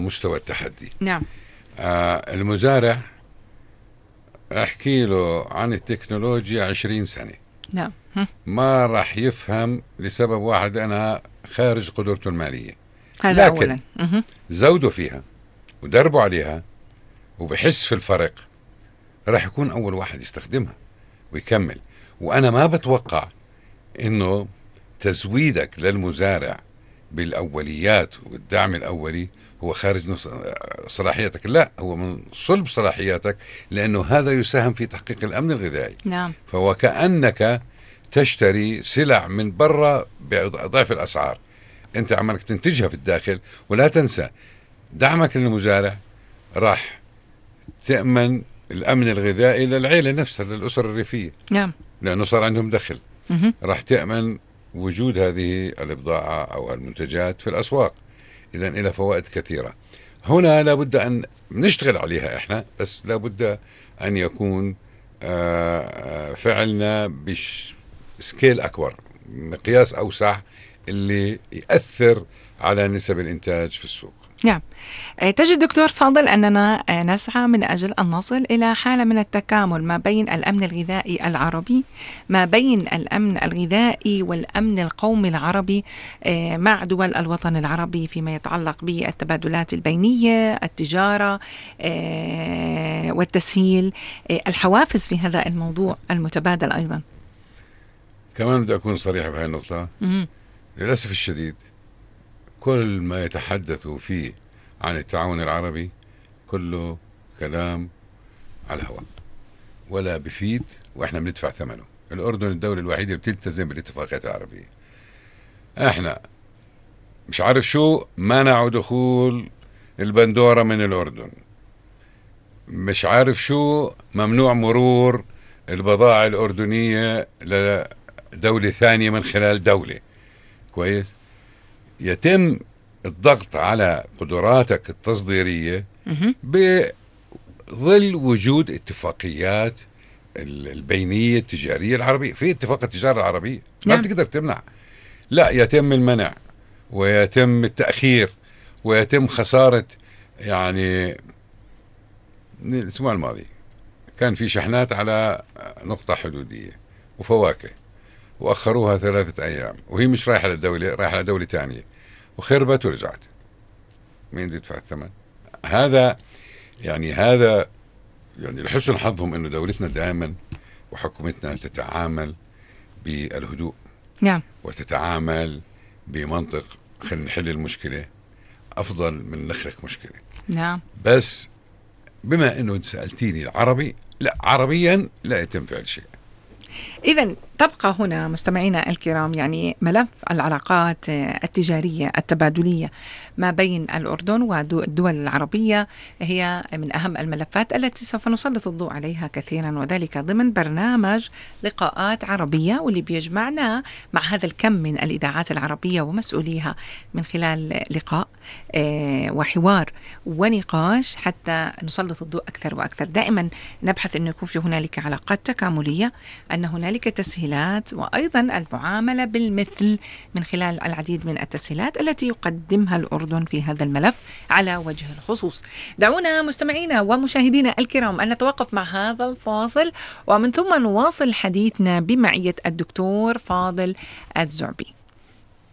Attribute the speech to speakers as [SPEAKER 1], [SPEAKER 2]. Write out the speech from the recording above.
[SPEAKER 1] مستوى التحدي.
[SPEAKER 2] نعم.
[SPEAKER 1] المزارع احكي له عن التكنولوجيا 20 سنة
[SPEAKER 2] نعم.
[SPEAKER 1] ما راح يفهم لسبب واحد، أنا خارج قدرته المالية.
[SPEAKER 2] هذا
[SPEAKER 1] لكن
[SPEAKER 2] أولا
[SPEAKER 1] زودوا فيها ودربوا عليها وبحس في الفرق، راح يكون أول واحد يستخدمها ويكمل. وأنا ما بتوقع إنه تزويدك للمزارع بالأوليات والدعم الأولي هو خارج صلاحياتك، لا، هو من صلب صلاحياتك، لأنه هذا يساهم في تحقيق الأمن الغذائي.
[SPEAKER 2] نعم.
[SPEAKER 1] فهو كأنك تشتري سلع من برا بضعف الأسعار، أنت عمالك تنتجها في الداخل. ولا تنسى دعمك للمزارع راح تأمن الأمن الغذائي للعيلة نفسها، للأسر الريفية.
[SPEAKER 2] نعم.
[SPEAKER 1] لأنه صار عندهم دخل. راح تأمن وجود هذه البضاعة أو المنتجات في الأسواق. إذن إلى فوائد كثيرة. هنا لابد أن نشتغل عليها إحنا، بس لابد أن يكون فعلنا بسكيل أكبر، مقياس أوسع، اللي يأثر على نسب الإنتاج في السوق.
[SPEAKER 2] نعم. تجد دكتور فاضل أننا نسعى من أجل أن نصل إلى حالة من التكامل ما بين الأمن الغذائي العربي، ما بين الأمن الغذائي والأمن القومي العربي مع دول الوطن العربي فيما يتعلق بالتبادلات البينية، التجارة والتسهيل، الحوافز في هذا الموضوع المتبادل أيضا.
[SPEAKER 1] كمان بدي أكون صريح بهذه النقطة. للأسف الشديد كل ما يتحدثوا فيه عن التعاون العربي كله كلام على الهواء، ولا بفيد، وإحنا بندفع ثمنه. الأردن الدولة الوحيدة اللي بتلتزم بالاتفاقيات العربية. إحنا مش عارف شو منعوا دخول البندورة من الأردن، مش عارف شو ممنوع مرور البضائع الأردنية لدولة ثانية من خلال دولة. كويس. يتم الضغط على قدراتك التصديرية بظل وجود اتفاقيات البينية التجارية العربية. في اتفاق التجارة العربية ما بتقدر تمنع، لا، يتم المنع ويتم التأخير ويتم خسارة. يعني الأسبوع الماضي كان في شحنات على نقطة حدودية وفواكه، وأخروها 3 أيام، وهي مش رايحة للدولة، رايحة لدولة تانية، وخربت ورجعت. مين بده يدفع الثمن؟ هذا يعني لحسن حظهم إنه دولتنا دائما وحكومتنا تتعامل بالهدوء.
[SPEAKER 2] نعم.
[SPEAKER 1] وتتعامل بمنطق خلينا نحل المشكلة أفضل من نخلق مشكلة.
[SPEAKER 2] نعم.
[SPEAKER 1] بس بما إنه سألتيني العربي، لا، عربيا لا يتم فعل شيء.
[SPEAKER 2] إذن تبقى هنا مستمعينا الكرام يعني ملف العلاقات التجارية التبادلية ما بين الأردن والدول العربية هي من أهم الملفات التي سوف نسلط الضوء عليها كثيرا، وذلك ضمن برنامج لقاءات عربية، واللي بيجمعنا مع هذا الكم من الإذاعات العربية ومسؤوليها من خلال لقاء وحوار ونقاش حتى نسلط الضوء أكثر وأكثر. دائما نبحث أن يكون في هنالك علاقات تكاملية، أن هنالك تسهيلات، وأيضا المعاملة بالمثل من خلال العديد من التسهيلات التي يقدمها الأردن في هذا الملف على وجه الخصوص. دعونا مستمعينا ومشاهدينا الكرام أن نتوقف مع هذا الفاصل، ومن ثم نواصل حديثنا بمعية الدكتور فاضل الزعبي.